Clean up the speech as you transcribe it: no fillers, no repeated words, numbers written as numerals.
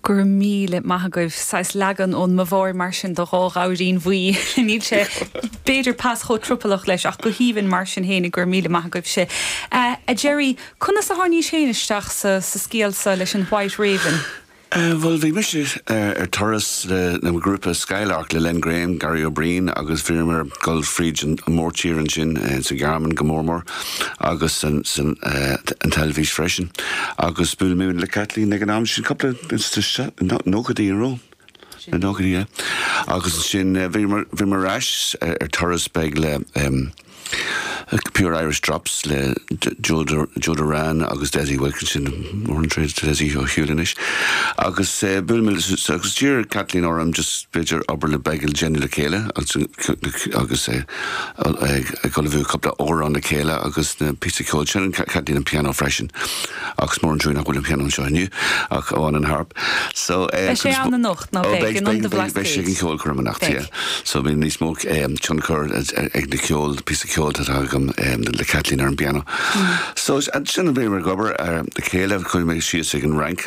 Go raibh míle maith agaibh. Saghas leagan ón mBaváir mar sin de Dhá Ghabhairín Bhuí. Níl sé b'fhéidir pas chomh tropalach leis ach go haoibhinn mar sin fhéinig. Go raibh míle maith agaibhse. A Gerry, conas a tháinís féin isteach sa scéal seo leis an White Raven? Bhuel, bhí mise ar turas le mo ghrúpa Skylark le Len Graham, Gary Ó Briain agus bhíomar ag dul fríd an mórtír ansin sa Ghearmáin go mór mór agus san an teilifís freisin. Agus bhuail mé le Caitlín ag an am sin, cúpla sna nóchaidí, an raibh? Na nóchaidí, yeah. Agus ansin bhíomar bhíomar ar ais ar turas beag le Pure Irish Drops le Joe Joe Doran agus Dessie Wilkinson, mór an trua do Dessie ar shiúl anois. Agus bhuail mé agus d'iarr Caitlín orm just b'fhéidir obair le beag a dhéanamh le chéile agus ag ullmhú cúpla amhrán le chéile agus na píosa ceoil sin, Caitlín an pianó freisin. Ach is mór an trua nach bhfuil an pianó anseo inniu ach amháin an harp. So Beidh sé ann anocht, ná beidh, in Ionad an Bhlascaoid. Beidh sé ag an cheolchoirm anocht, yeah. So bíonn níos mó tionchar ag na ceol, píosa ceoil atá agam le Caitlín ar an bpianó. So ansin bhíomar ag obair le chéile, chuaigh mé síos ag an Fhrainc,